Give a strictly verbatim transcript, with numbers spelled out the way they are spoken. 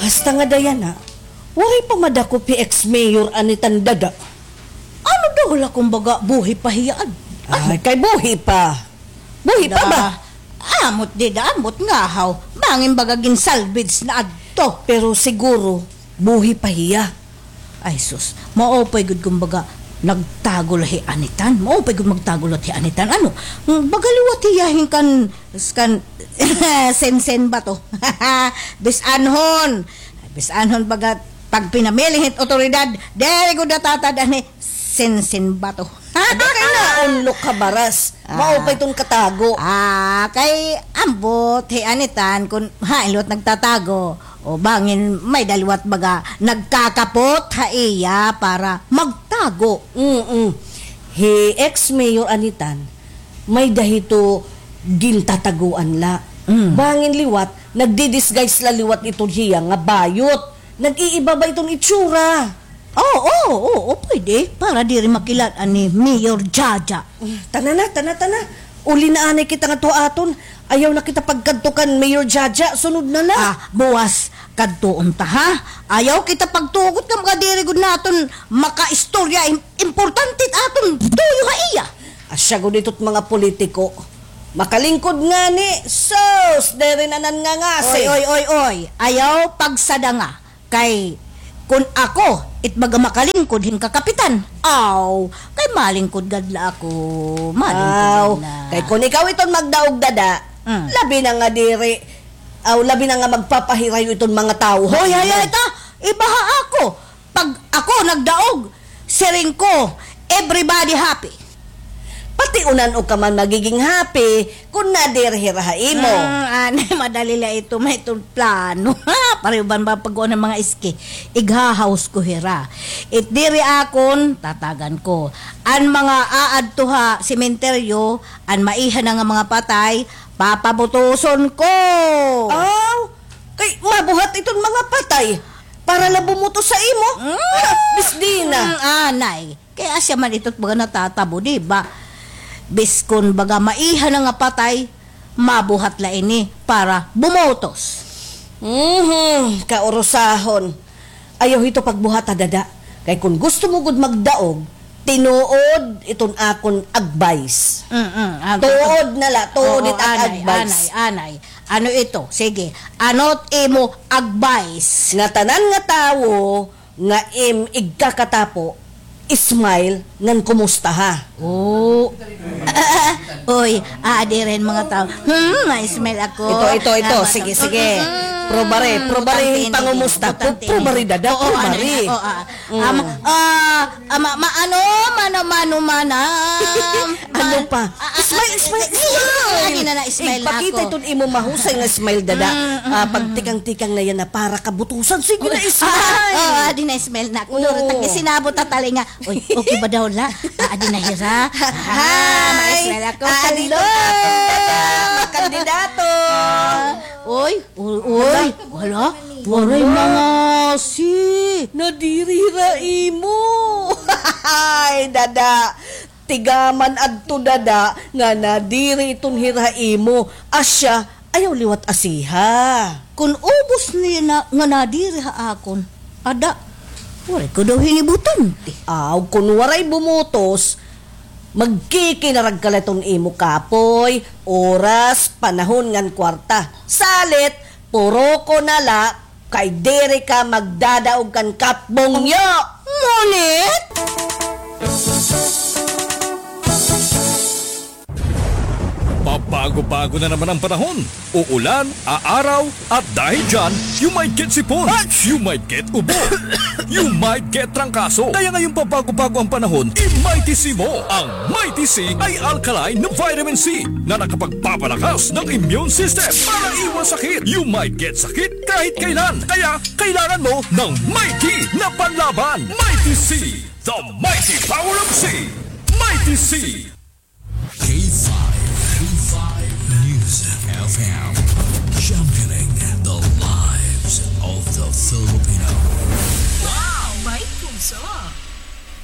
Hasta ngada yana, waray pa madakop hi ex-mayor Anitan, Dada. Ano daw la, kumbaga, buhi pa hiya, ad-, ano? Ay, kay buhi pa. Buhi pa ba? Da, ambot dida, ambot ngahaw. Bangin baga gin-salvage na adto. Pero siguro, buhi pa hiya. Ay, sus. Maupay gud, kumbaga, nagtago la hi Anitan. Maupay gud magtago la hi Anitan. Ano? Baga liwat hiya hin kan, kan Sensen Bato. Bis-anhon. Bis-anhon baga pagpinamili hin otoridad. Diri gud natatad-an hi Sensen Bato. Ada kay naunlok ha baras. Ah. Maupay iton katago. Ah, kay ambot hi Anitan kun hain liwat nagtatago. O bangin may-ada liwat baga nagkakapot ha iya para magtago. Mm-mm. Hi ex-mayor Anitan, may-ada hito gintataguan la. Mm. Bangin liwat, nagdi-disguise la liwat iton hiya nga bayot. Nag-iiba ba iton itsura? Oo, oo, oo, pwede. Para diri makilal-an ni Mayor Jaja. Tana na, tana, tana. Uli na anay kita ngadto ha aton. Ayaw na kita pagkadto kan Mayor Jaja. Sunod na la. Ah, buwas kadtuon ta, ha? Ayaw kita pagtugot nga mga diri gud naton makaistorya. Im-, importante it aton tuyo ha iya. Asya gud ito't mga politiko. Makalingkod ngani. Sus, diri na nan nga ngasi. Oy, oy, oy, oy. Ayaw pagsadanga. Kay kun ako it baga makalingkod hin kakapitan, aw, kay malingkod gad la ako, malingkod gad la. Kay kun ikaw iton magdaog, Dada, mm, labi na nga diri, aw, labi na nga magpapahirayo iton mga tawo. Hoy, hay, hay, ta, iba ha ako. Pag ako nagdaog, siring ko, everybody happy. Pati unan-o ka man magiging happy kun nadiri hira ha imo. Hmm, anay, madali la ito, may iton plano. Pareho ban ba pag-uon an mga iski? Ighahaws ko hira. It diri akon, tatagan ko. An mga aadto ha sementeryo, an maiha na nga mga patay, papabutuson ko. Aw, kay mabuhat iton mga patay para la bumutos sa imo. Hmm? Bis di na. Hmm, anay. Kay asya man ito't baga natatabo, di ba? Biskon baga maiha na nga patay, mabuhat la ini para bumutos. Mhm, kaurusahon. Ayaw hito pagbuhat, ha, Dada. Kay kun gusto mo gud magdaog, tinuod iton akon advice. Mm-mm. Ah, tuod na la, tuod it ak-, anay, advice. Anay, anay. Ano ito? Sige. Ano't imo advice? Nga tanan nga tawo nga im igkakatapo, smile ngan kumustaha. Oh. Oy, aadi rin mga tao. Hmm, ma-smile ako. Ito, ito, ito. Sige, sige. Probare, probare hin pangumusta. Probare, Dada, probare. Oo, ano na, oo, ah. Mm. Ama, ah, ama, ma-, ano, mano, mano, manam. Ano pa? Smile, smile, smile. Adi na, na-smile na ako. Ipakita iton imo mahusay nga smile, Dada. Mm, mm, mm. Ah, pagtikang-tikang na yana para kabutusan. Sige na, smile. Oo, adi na, smile na ako. Oo. Duro, tag-isinabot ta talinga. Uy, okay ba daw la? Ah, adi na hira. Hi. Ah, ma-smile ako. Ah, adi na, Dada. Kandidato. Uy, uy, uy. Hala, waray mangasi. Nadiri hira imo. Ay, Dada. Tigaman adto, Dada, nga nadiri iton hira ha imo. Asya, ayaw liwat asiha. Kun ubos niya na, nga nadiri ha akon, ada, waray ko daw hini butante. Aw, kun waray bumutos, magkikinarag ka la iton imo kapoy, oras, panahon ngan kwarta. Salit, puro ko na la, kay diri ka magdadaog kan Kap Bongyo. Ngunit? Pabago-bago na naman ang panahon. Uulan, aaraw, at dahil dyan, you might get sipon, you might get ubo, you might get trangkaso. Kaya ngayong pabago-bago ang panahon, i-Mighty C mo. Ang Mighty C ay alkaline na vitamin C na nakapagpapalakas ng immune system para iwas sakit. You might get sakit kahit kailan. Kaya kailangan mo ng Mighty na panlaban. Mighty C, the mighty power of C. Mighty C. K five, K five News F M, championing the lives of the Filipino. Wow, may puso.